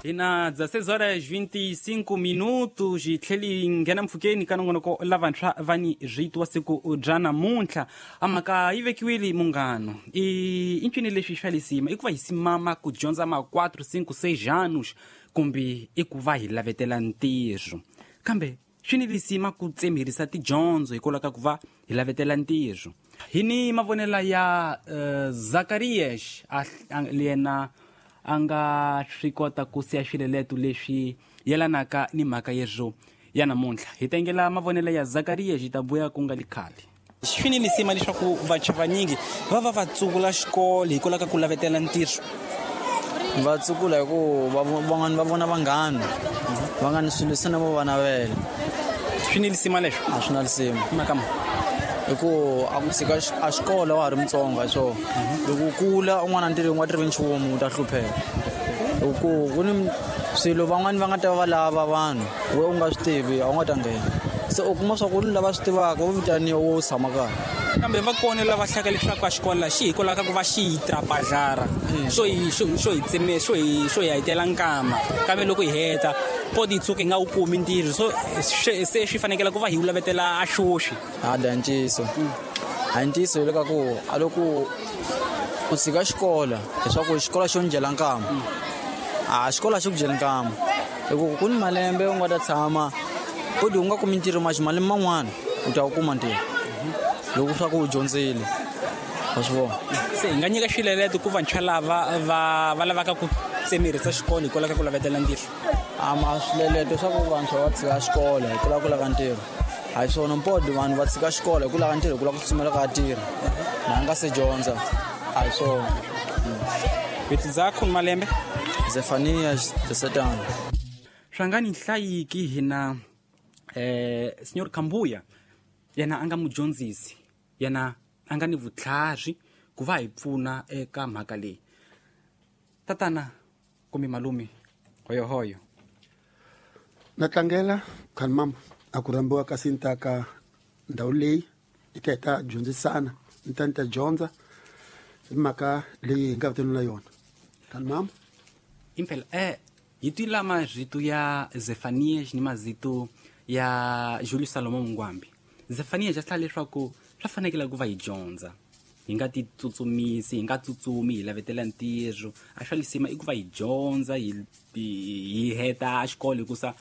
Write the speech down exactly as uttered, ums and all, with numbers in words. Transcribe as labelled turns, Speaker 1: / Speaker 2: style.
Speaker 1: Hina dezesseis horas vinte e cinco minutos hi tlheli hi nghena mpfhukeni ka nongonoko lavantshwa va ni rito wa siku bya namuntlha. A mhaka yi vekiwile munghano i i ncini leswi swa lisima i ku va hi simama ku dyondza ma quatro cinco seis anos kumbe i ku va hi lavetela ntirho, kambe swi ni lisima ku tsemerisa tidyondzo hikwalaho ka ku va hi lavetela ntirho. Hi ni mavonelo ya uh, Zacarias yena a nga swi kota ku siya swileleto leswi yelanaka ni mhaka yezwo ya namuntlha. Hi tengela mavonelo ya Zacarias hi ta vuya ku nga li khale. Swi ni lisima leswaku vantshwa vanyingi va va va tsukula xikolo hikwalaho ka ku lavetela ntirho.
Speaker 2: Va tsukula hi ku van'wana va vona vanghana va nga ni swilo se na vo va navela.
Speaker 1: Swi ni lisima leswo?
Speaker 2: A swi na lisima.
Speaker 1: Mhaka mani?
Speaker 2: Hi ku a ku tshika a xikolo wa ha ri mutsongo hi swona. Loko u kula un'wana ntirho u nga tirhi nchumu u ta hlupheka. Hi ku ku ni swilo van'wani va nga ta va lava vanhu we u nga swi tivi a wu nga ta nghena. Se u kuma swa ku lava swi tivaka vo vitaniwa wo tshama kaya.
Speaker 1: Kambe va kona lava hlaka leswaku a xikolo xi hikwalaho ka ku va xi hi trapajara xo hi xo xo hi tseme xo hi xo hi hetela nkama, kambe loko hi heta podi tshuka hi nga wu kumi ntirho, so se swi fanekele ku va hi wu lavetela a xoxi.
Speaker 2: A da ntiyiso a ntiyiso hi le ka ku a loko u tshika xikolo leswaku xikolo xo ni dyela nkama, a xikolo a xi ku dyeli nkama hi ku ku ni malembe u nga ta tshama podi u nga kumi ntirho maxi malembe man'wana u ta wu kuma ntirho loko swa ku u dyondzile wa swi vona.
Speaker 1: Se hi nga nyika swileleto ku vantshwa lava va va lavaka ku tsemerisa xikolo hikwalaho ka ku lavetela ntirho?
Speaker 2: A ma swileleto swa ku vantshwa va tshika xikolo hi ku lava ku lava ntirho a hi swona. Mpodi vanhu va tshika xikolo hi ku lava ntirho hi ku lava ku tsutsumela ka tirha na nga se dyondza a hi swona.
Speaker 1: Vito zakho ni malembe?
Speaker 2: Zefania Desetano.
Speaker 1: Swa nga ni hlayiki hina eh Senhor Kambuya yena a nga mudyondzisi, yena a nga ni vutlhari ku va hi pfuna eka mhaka leyi. Tatana kumbe malume hoyohoyo.
Speaker 3: Na tlangela khani mama a ku rhambiwa ka sinta ka ndhawu leyi hi ta hi ta dyondzisana ni ta ni ta dyondza hi mhaka leyi hi nga vitaniwa yona. Khani mama
Speaker 1: impela eh hi twila marito ya Zefanias ni mazito ya Julius Salomon Mungwambi. Zefanias a hlaya leswaku swa fanekele ku va hi dyondza, hi nga ti tsutsumisi, hi nga tsutsumi hi lavetela ntirho. A swa lisima i ku va hi dyondza hi hi heta xikolo hikusa